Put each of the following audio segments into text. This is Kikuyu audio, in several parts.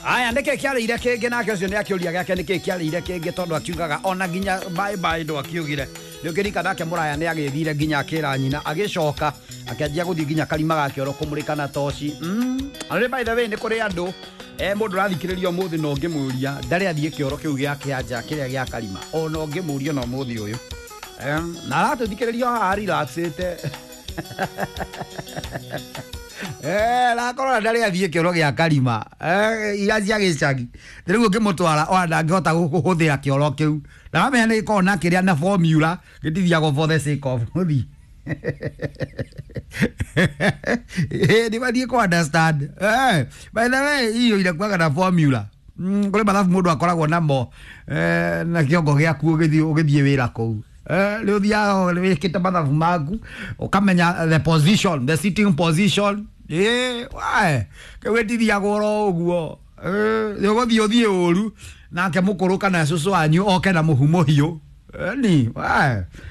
Aya nä kä kä arä ire kä ngä nake å cio nä akä å ria gä ake nä kä kä arä ire kä ngä tondå akiugaga ona nginya bye bye ndå akiugire nä å kä rika nake må raya nä agä thire nginya akä ra nyina agä coka akĩanjia gũthiĩ nginya karima ga kĩoro kũmũrĩka na toci. Na by the way nĩ kũrĩ andũ mũndũ ũrathikĩrĩria ũmũthĩ na ũngĩmũria ndarĩ athiĩ kĩoro kĩu gĩa kĩanja kĩrĩa gĩa karima ona ũngĩmũria na ũmũthĩ ũyũ na aratũthikĩrĩria haha relaxĩte rakorora ndarĩ athiĩ kĩoro gĩa karima iria cia gĩcagi rĩu ũngĩmũtwara ona ndangĩhota kũhũthĩra kĩoro kĩu ndaramenya nĩ gĩkoragwo na kĩrĩa na formula gĩtithiagwo for the sake of gũthiĩ nä mathiä kå understand. By the way iyo inakuaga na formula kå rä mathabu må ndå akoragwo namo na kä ongo gä aku å gä thiä wä ra kå u nä å thiaga wä kä te mathabu maku å kamenya the position, the sitting position. Kä wä tithiagwo oro å guo nä å gå thiä å thiä å ru nake må kå rå kana cåcå wanyu oke na må hu må hiå ni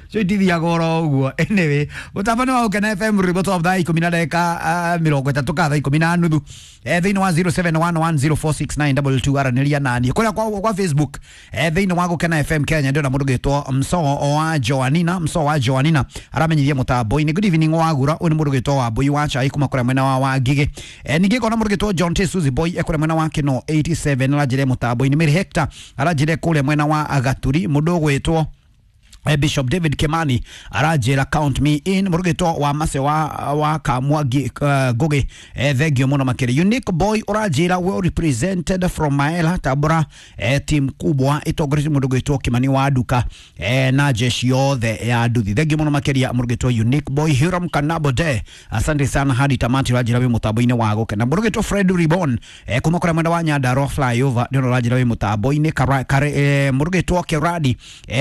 cio itithiaga oro ũguo. Anyway, mũtambo nĩ wa Gũkena FM rwĩmbo twa thaa ikũmi na ndagĩka 30 ka thaa 10:30 thĩinĩ wa 0711046922 aranĩria naniĩ kũrĩa kwa Facebook thĩinĩ wa Gũkena FM Kenya ndĩrona mũndũ gĩtwo Msoo wa Joanina. Msoo wa Joanina aramenyithia mũtambo-inĩ good evening wagura ũyũ nĩ mũndũ gĩtwo Wambũi wa Chai kuma kũrĩa mwena wa Wangigĩ. Ningĩ ngona mũndũ gĩtwo John T Suzy Boy kũrĩa mwena wa Kino 87 aranjĩre mũtambo-inĩ. Mary Hector aranjĩre kũrĩa mwena wa Gaturi. Mũndũ ũgwĩtwo Bishop David Kimani aranjĩra count me in. Mũrugĩtwo wa Mase wa Kamwangi Ngugi thengio mũno makĩria. Unique Boy ũranjĩra well represented from Maela Tabora team kubwa ĩtongoretio mũndũ gwĩtwo Kimani wa Nduka na jeshi yothe ya nduthi. Thengio mũno makĩria mũrugĩtwo Unique Boy. Hiram Kanabo de asante sana hadi tamati ũranjĩra wĩ mũtambo-inĩ wa Gũkena. Mũrugĩtwo Fred Ribon kuma kũrĩa mwena wa Nyandarua flyover nĩona ũranjĩra wĩ mũtambo-inĩ. Mũrugĩtwo Keradi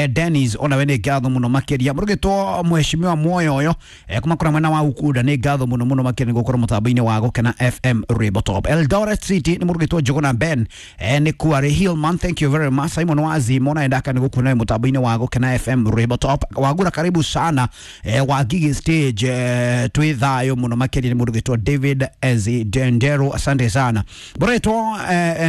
Dennis ona we nĩ ngatho mũno makĩria. Mũrugĩtwo mheshimiwa Mwoyoyo kuma kũrĩa mwena wa Ukunda nĩ ngatho mũno mũno makĩria nĩ gũkorwo mũtambo-inĩ wa Gũkena FM Rwĩmbo Top. Eldoret City nĩ mũrugĩtwo Njũgũna Ben nĩ Kuarĩ Hillman, thank you very much. Simon Wazi mona endaka nĩ gũkuona mũtambo-inĩ wa Gũkena FM Rwĩmbo Top. Wagura karibu sana wa Gigi stage twĩ thayũ mũno makĩria nĩ mũrugĩtwo David Ezi Dendero, asante sana. Mũrugĩtwo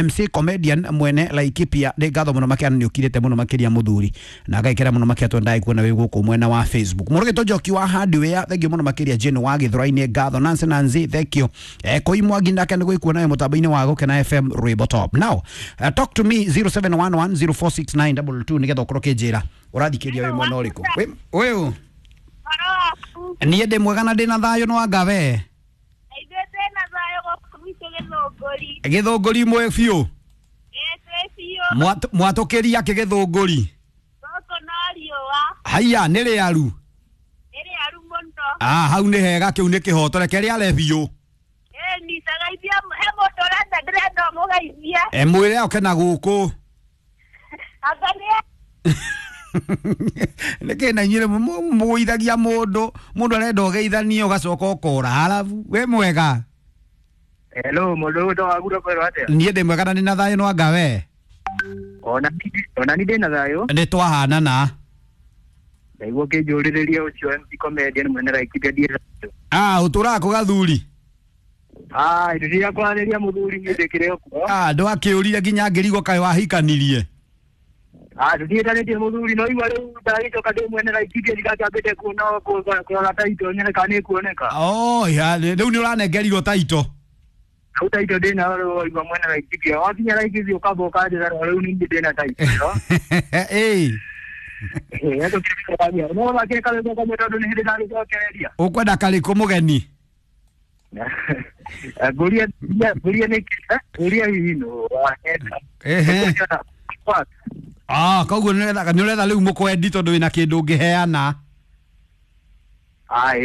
MC comedian mwene Laikipia nĩ ngatho mũno makĩria nĩ ũkirĩte mũno makĩria mũthuri na ngaikĩra mũno makĩria twendai kuona wĩ gũkũ mwena wa Facebook. Mũrugĩtwo Njoki wa Hardware thank you mũno makĩria. Jane wa Gĩthũrai-inĩ ngatho. Nancy Nancy thank you. Koi Mwangi nake nĩ gwĩkuona wĩ mũtambo-inĩ wa Gũkena FM Rwĩmbo Top. Now talk to me 0711046922 nĩgetha ũkorwo ũkĩnjĩra ũrathikĩrĩria wĩ mwena ũrĩkũ. Ũyũ niĩ ndĩ mwega na ndĩna thayũ no anga we Ithuĩ twĩna thayũ gũkũ gwitũ Gĩthũngũri. Gĩthũngũri mwe biũ. Ĩĩ twĩ biũ. Mwatũkĩria kĩ Gĩthũngũri? Gũkũ no riũa. Haiya nĩ rĩaru. Nĩ rĩaru mũno. Hau nĩ hega kĩu nĩ kĩhoto reke rĩare biũ. Ĩĩ nitagaithia he mũndũ ũrenda ndĩrenda ũmũgeithie. Mwĩre oke na gũkũ. Anga nĩ Nĩkĩ na inyuĩ mũgũithagia mũndũ mũndũ arenda ũgeithanie ũgacoka ũkora harabu. Wĩ mwega? Hello, mũndũ ũyũ wagura kwĩrwo atĩa? Niĩ ndĩ mwega na ndĩna thayũ no anga we? Ona ni ndĩna thayũ. Nĩ twahanana. Ndaigua ũkĩnjũrĩrĩria ũcio MC comedian mwene Laikipia ndiĩ thayũ. Ũtũraga kũ Gathuri? Indo kwaranĩria mũthuri niĩ ndĩkĩrĩ o kuo. Ndwakĩũrire nginya ngĩrigwo kaĩ wahikanirie. Tũtiĩtanĩtie mũthuri no igua rĩu ndagĩcoka ndĩ mwene Laikipia ndigakĩambĩte kuona kũrora taito nyone kana nĩkuoneka. Rĩu nĩ ũranengerirwo taito. Rĩu taito ndĩnayo rĩu waigua mwene Laikipia wakinya Laikipia ũkamba ũkanjĩra rĩu ningĩ ndĩna taito ĩno. Ĩĩ. No thakĩre karwĩmbo kamwe tondũ nĩ hĩndĩ ndagĩcokereria. Ũkwenda karĩkũ mũgeni? Ngũria nĩkĩ ngũria hihi nũ wakenda. Koguo nĩ ũretha rĩu mũkwendi tondũ wĩna kĩndũ ũngĩheana.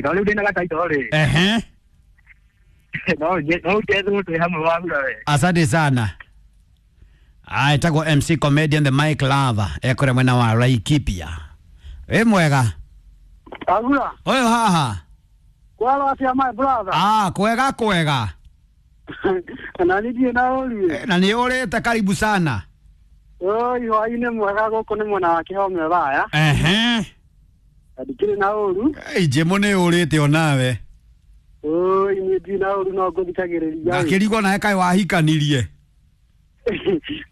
No rĩu ndĩna gataito rĩ. No njethwo twĩ hamwe wagura we. Asante sana. Etagwo MC comedian the Mike Lava ekũrĩa mwena wa Laikipia. Wĩ mwega? Agura. Ũyũ haha. Kwaro atĩa my brother? Kwega kwega. Na nĩ na ũrie. Na nĩ ũrĩte karibu sana. Oi hwainĩ mwega gũkũ nĩ mwena wa Kĩhome Raya. Ndikĩrĩ na ũru. Njĩmũ nĩ ũrĩte onawe. Oi niĩ ndirĩ na ũru no ngũthikagĩrĩria. Ngakĩrigwo nawe kaĩ wahikanirie.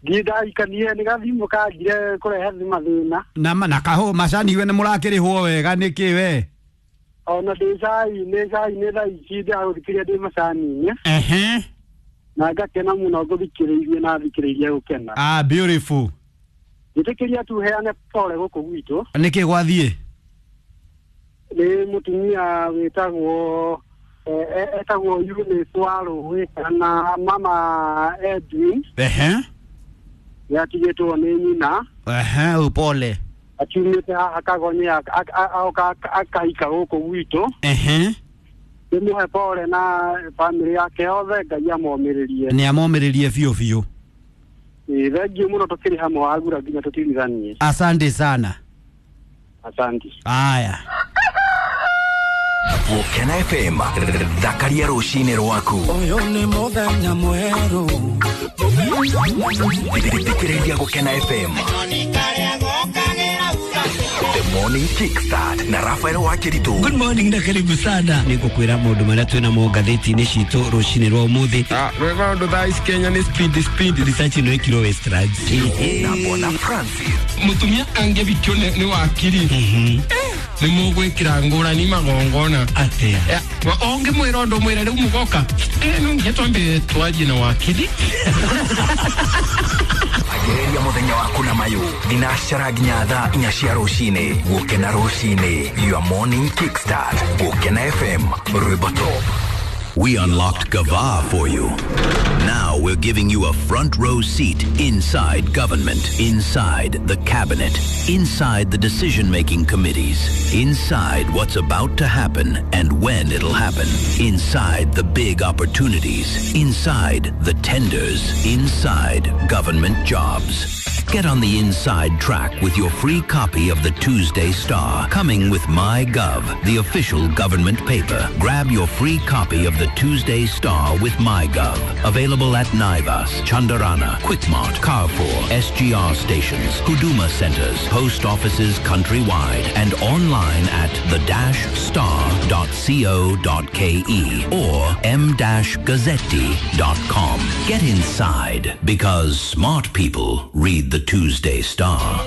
Ndindahikanie nĩ gathimũ kanjire kũrehe mathĩna. Na na kaho macani we nĩ mũrakĩrĩhwo wega nĩkĩ we? Ona ndĩ cai-inĩ cai-inĩ thaa ici ndĩragũthikĩrĩria ndĩ macani-inĩ. Ehe. Na ngakena mũno ngũthikĩrĩirie na thikĩrĩirie gũkena. Ah, beautiful. Njĩtĩkĩria tu heane pole gũkũ gwitũ. Nĩkĩ gwathiĩ? Nĩ mũtumia wĩtagwo etagwo Eunice wa Rũĩ kana mama Edwin. Ehe. Yatigĩtwo nĩ nyina. Ehe, upole. Akiumĩte haha Kagonye aoka akahika gũkũ gwitũ. Ehe. Ndĩmũhe pole na bamĩrĩ yake yothe, Ngai amomĩrĩrie. Nĩ amomĩrĩrie biũ biũ. Thengiũ mũno tũkĩrĩ hamwe wagura nginya tũtirithanie. Asante sana. Asante. Aya. Gũkena FM thakaria rũcinĩ rwaku. Ũyũ nĩ mũthenya mwerũ. Thikĩrĩria Gũkena FM. The Morning Kickstart na Rafael Wakiritu. Good morning na karibu sana. Nĩngũkwĩra maũndũ marĩa twĩ namo ngathĩti-inĩ citũ rũcinĩ rwa ũmũthĩ. Maũndũ thaa ici Kenya nĩ speed speed. Research ĩno ĩkirwo Westlands. Na Bwana Francis. Mũtumia angĩbikio nĩ wakiri nĩ mũgwĩkĩra ngũrani magongona. Atĩa? Ũngĩmwĩra ũndũ mwĩre rĩu mũgoka no nginya twambe twarie na wakiri. Ambĩrĩria mũthenya waku na mayũ thinacara nginya thaa 4 cia rũcinĩ. Gũkena rũcinĩ, your morning kickstart. Gũkena FM, rwĩmbo top. We unlocked Gava for you. Now we're giving you a front row seat inside government, inside the cabinet, inside the decision-making committees, inside what's about to happen and when it'll happen, inside the big opportunities, inside the tenders, inside government jobs. Get on the inside track with your free copy of the Tuesday Star, coming with MyGov, the official government paper. Grab your free copy of the Tuesday Star with MyGov. Available at Naivas, Chandarana, Quickmart, Carrefour, SGR stations, Huduma centers, post offices countrywide, and online at the-star.co.ke or m-gazzetti.com. Get inside, because smart people read the Tuesday Star.